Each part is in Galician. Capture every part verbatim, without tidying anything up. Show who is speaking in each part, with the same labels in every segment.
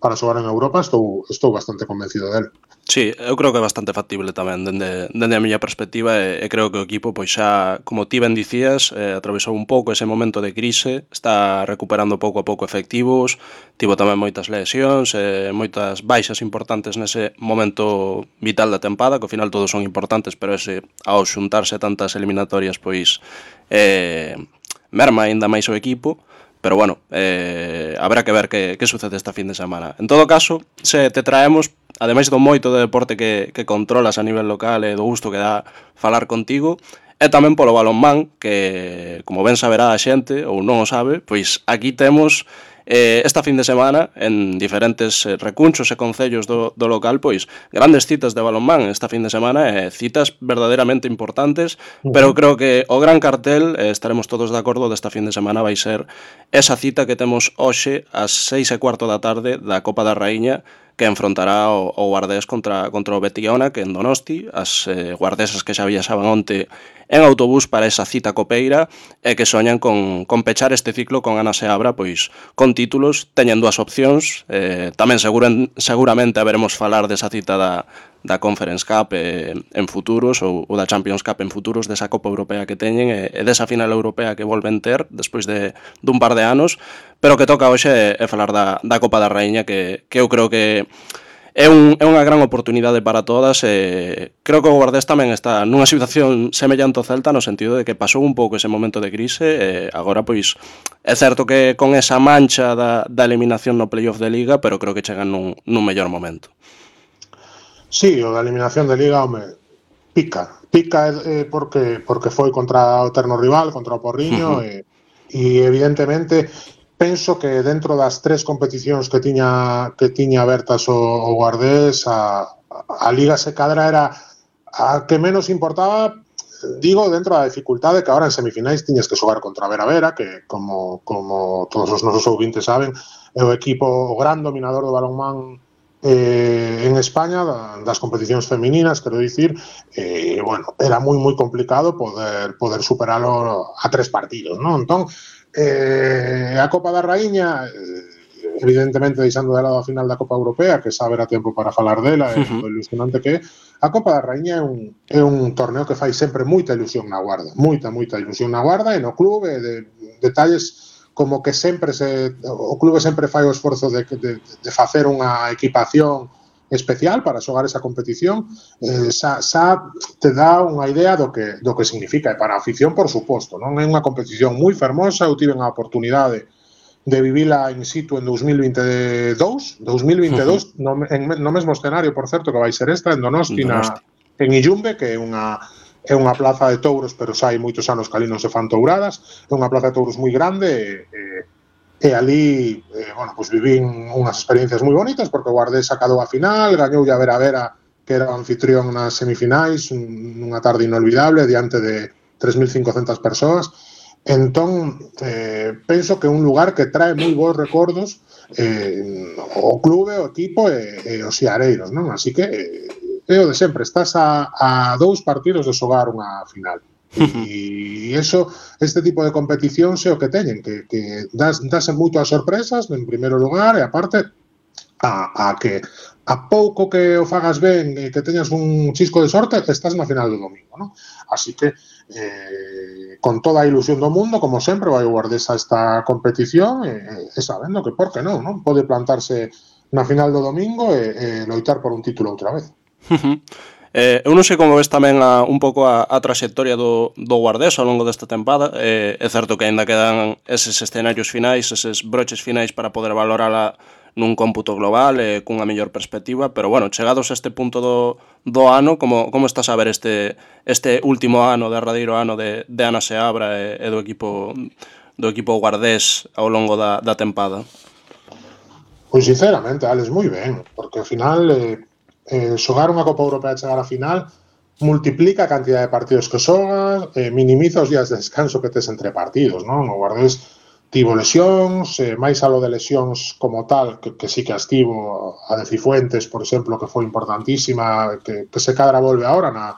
Speaker 1: para xogar en Europa, estou, estou bastante convencido del.
Speaker 2: Sí, eu creo que é bastante factible tamén dende, dende a miña perspectiva e, e creo que o equipo, pois xa, como ti ben dicías, eh, atravesou un pouco ese momento de crise, está recuperando pouco a pouco efectivos, tivo tamén moitas lesións, eh, moitas baixas importantes nese momento vital da tempada, que ao final todos son importantes, pero ese, ao xuntarse tantas eliminatorias, pois eh, merma aínda máis o equipo. Pero bueno, eh, habrá que ver que, que sucede esta fin de semana. En todo caso, se te traemos, ademais do moito de deporte que, que controlas a nivel local e do gusto que dá falar contigo, e tamén polo balonmán, que, como ben saberá a xente, ou non o sabe, pois aquí temos eh, esta fin de semana, en diferentes eh, recunchos e concellos do, do local, pois grandes citas de balonmán esta fin de semana, e eh, citas verdadeiramente importantes, uh-huh. Pero creo que o gran cartel, eh, estaremos todos de acordo, desta fin de semana vai ser esa cita que temos hoxe ás seis e cuarto da tarde da Copa da Raíña, que enfrontará o, o Guardés contra, contra o Betiona, que en Donosti, as eh, guardesas que xa viaxaban onte en autobús para esa cita copeira e que soñan con, con pechar este ciclo con Ana Seabra, pois con títulos, teñen dúas opcións, eh, tamén seguren, seguramente haberemos falar desa cita da, da Conference Cup eh, en futuros ou, ou da Champions Cup en futuros, desa Copa Europea que teñen e, e desa final europea que volven ter despois de dun par de anos, pero que toca hoxe é, é falar da, da Copa da Raíña, que, que eu creo que é, un, é unha gran oportunidade para todas e creo que o Guardés tamén está nunha situación semellante ao Celta no sentido de que pasou un pouco ese momento de crise e agora pois é certo que con esa mancha da, da eliminación no playoff de Liga, pero creo que chegan nun, nun mellor momento.
Speaker 1: Sí, o da eliminación de Liga, home, pica. Pica eh, porque porque foi contra o eterno rival, contra o Porriño, uh-huh. e, e evidentemente penso que dentro das tres competicións que tiña que tiña abertas o, o Guardés, a, a Liga se cadra era a que menos importaba, digo, dentro da dificultade que agora en semifinais tiñes que xogar contra Vera Vera, que como, como todos os nosos ouvintes saben, é o equipo o gran dominador do balonmán eh, en España, das competicións femininas, quero dicir, e, eh, bueno, era moi moi complicado poder poder superalo a tres partidos, non? Entón, Eh, a Copa da Raíña, eh, evidentemente deixando de lado a final da Copa Europea, que xa haberá tempo para falar dela, e uh-huh. o ilusionante que é, a Copa da Raíña é un, é un torneo que fai sempre moita ilusión na Guarda, moita, moita ilusión na Guarda e no clube, de, detalles como que sempre se, o clube sempre fai o esforzo de, de, de facer unha equipación especial para xogar esa competición, eh, xa, xa te dá unha idea do que, do que significa, e para a afición, por suposto, non é unha competición moi fermosa. Eu tive a oportunidade de vivila in situ en dous mil vinte e dous, dous mil vinte e dous, uh-huh. no, en, no mesmo escenario, por certo, que vai ser esta, en Donosti, na, en Illumbe, que é unha é unha plaza de touros, pero xa hai moitos anos que ali non se fan touradas, é unha plaza de touros moi grande, e, e E ali, eh, bueno, pues vivín unhas experiencias moi bonitas, porque o Guardés sacadou a final, gañou a Vera Vera, que era o anfitrión nas semifinais, unha tarde inolvidable, diante de tres mil cincocentas persoas. Entón, eh, penso que é un lugar que trae moi bons recordos eh, o clube, o equipo e, e os xeareiros, non? Así que eh, é o de sempre, estás a, a dous partidos de xogar unha final. E eso, este tipo de competicións é o que teñen, que, que das, das moito as sorpresas en primeiro lugar, e aparte a, a que a pouco que o fagas ben e que teñas un chisco de sorte, estás na final do domingo, non? Así que eh, con toda a ilusión do mundo, como sempre, vai o Guardés a esta competición e, e sabendo que por que non, non? Pode plantarse na final do domingo e, e loitar por un título outra vez.
Speaker 2: Eh, eu non sei como ves tamén a, un pouco a, a trayectoria do, do Guardés ao longo desta tempada. Eh, é certo que ainda quedan eses escenarios finais, eses broches finais para poder valorala nun cómputo global e eh, cunha mellor perspectiva, pero bueno, chegados a este punto do, do ano, como, como estás a ver este, este último ano, derradeiro ano de, de Ana Seabra e, e do equipo do equipo Guardés ao longo da, da tempada?
Speaker 1: Pois sinceramente, Alex, moi ben, porque ao final eh, eh, xogar unha Copa Europea e chegar á final multiplica a cantidad de partidos que xogas, eh, minimiza os días de descanso que tes entre partidos, non? O Guardés tivo lesións, eh, máis a lo de lesións como tal, que, que sí que as tivo, a de Cifuentes, por exemplo, que foi importantísima, que, que se cadra volve agora na,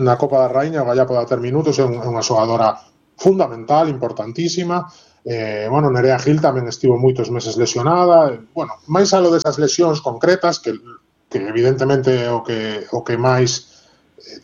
Speaker 1: na Copa da Raíña, o Gallá poda ter minutos, é, un, é unha xogadora fundamental, importantísima. Eh, bueno, Nerea Gil tamén estivo moitos meses lesionada. Bueno, máis alo desas lesións concretas que, que evidentemente o que, o que máis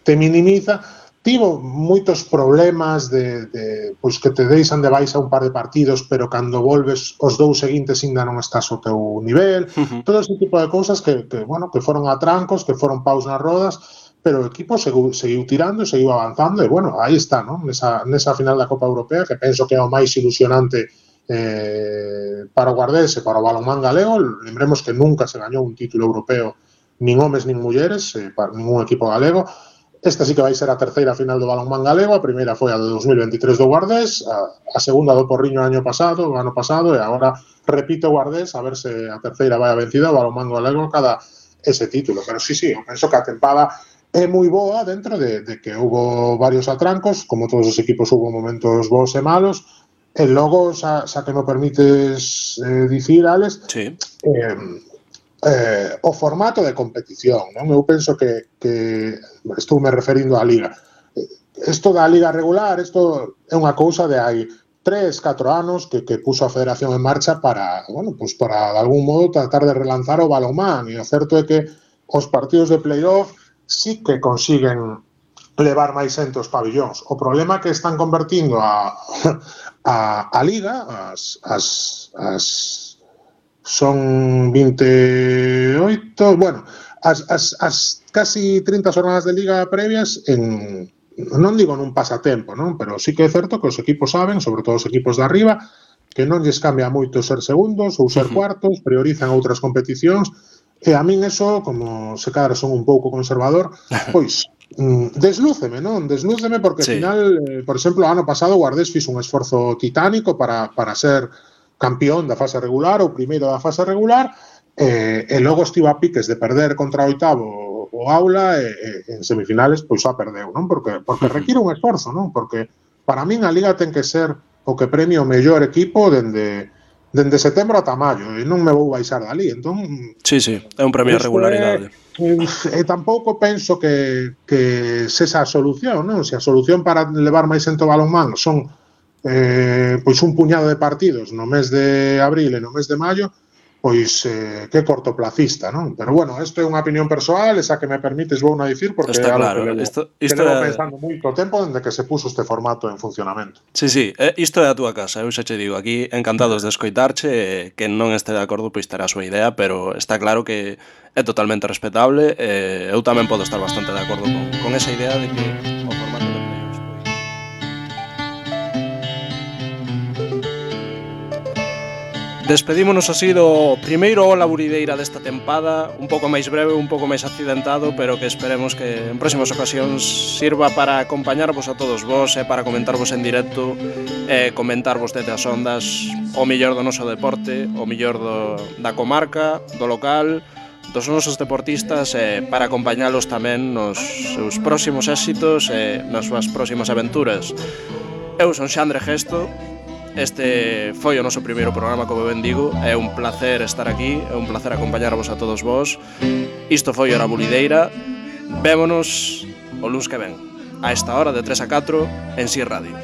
Speaker 1: te minimiza, tivo moitos problemas de, de pois que te deixan de baixa un par de partidos, pero cando volves os dous seguintes ainda non estás ao teu nivel. Uh-huh. Todo ese tipo de cousas que, que, bueno, que foron atrancos, que foron paus nas rodas, pero o equipo seguiu, seguiu tirando, seguiu avanzando e, bueno, aí está, ¿no? Nesa, nesa final da Copa Europea, que penso que é o máis ilusionante eh, para o Guardés e para o balonmán galego. Lembremos que nunca se gañou un título europeo nin homes nin mulleres, eh, para ningún equipo galego. Esta sí que vai ser a terceira final do balonmán galego, a primeira foi a de dos mil veintitrés do Guardés, a, a segunda do Porriño ano pasado, o ano pasado, e agora repite o Guardés, a ver se a terceira vai a vencida, o balonmán galego cada ese título. Pero sí, sí, eu penso que a tempada é moi boa dentro de, de que houve varios atrancos, como todos os equipos houve momentos bons e malos, e logo, xa, xa que me permites eh, dicir, Alex,
Speaker 2: sí.
Speaker 1: eh, Eh, o formato de competición, non? Eu penso que, que estou me referindo á liga. Isto da liga regular, isto é unha cousa de hai tres, catro anos que, que puso a Federación en marcha para, bueno, pues para de algún modo tratar de relanzar o balonmán, e o certo é que os partidos de playoff sí que consiguen levar máis xente aos pabillóns. O problema é que están convertindo a, a, a liga, as, as, as son vinte e oito, bueno, as, as, as casi trinta jornadas de liga previas en, non digo nun pasatempo, non? Pero sí que é certo que os equipos saben, sobre todo os equipos de arriba, que non lles cambia moito ser segundos ou ser cuartos, priorizan outras competicións, e a min eso, como se cadra son un pouco conservador, pois deslúceme, non? Deslúceme porque, sí, ao final, eh, por exemplo, ano pasado o Guardés fixo un esforzo titánico para, para ser campeón da fase regular ou primeiro da fase regular, eh, e logo estivo a piques de perder contra o oitavo o Aula, e, e en semifinales pois xa perdeu, non? Porque, porque require un esforzo, non? Porque para min a liga ten que ser o que premia o mellor equipo dende, dende setembro ata maio, e non me vou baixar dali, entón...
Speaker 2: Sí, sí, é un premio a regularidade.
Speaker 1: E, e tampouco penso que, que sexa a solución, non? Se a solución para levar máis xente ao balonmán son Eh, pois un puñado de partidos no mes de abril e no mes de maio, pois eh, que cortoplacista, non? Pero bueno, isto é unha opinión persoal, esa que me permites vou na dicir, porque
Speaker 2: está
Speaker 1: é algo
Speaker 2: claro,
Speaker 1: que levo,
Speaker 2: isto,
Speaker 1: que
Speaker 2: isto
Speaker 1: levo
Speaker 2: é...
Speaker 1: pensando moito tempo dende que se puso este formato en funcionamento.
Speaker 2: Sí, sí, isto é a túa casa, eu xa che digo, aquí encantados de escoitarche, que non este de acordo pois terá a súa idea, pero está claro que é totalmente respetable, e eu tamén podo estar bastante de acordo con, con esa idea de que o formato de playoffs pois... Despedímonos así do primeiro Ola Burideira desta tempada, un pouco máis breve, un pouco máis accidentado, pero que esperemos que en próximas ocasións sirva para acompañarvos a todos vos e para comentarvos en directo e comentarvos desde as ondas o mellor do noso deporte, o mellor do, da comarca, do local, dos nosos deportistas, e para acompañalos tamén nos seus próximos éxitos e nas súas próximas aventuras. Eu son Xandre Gesto. Este foi o noso primeiro programa, como ben digo. É un placer estar aquí, é un placer acompañarvos a todos vos. Isto foi Hora Bulideira. Vémonos o luns que ven, a esta hora de tres a catro en Si Radio.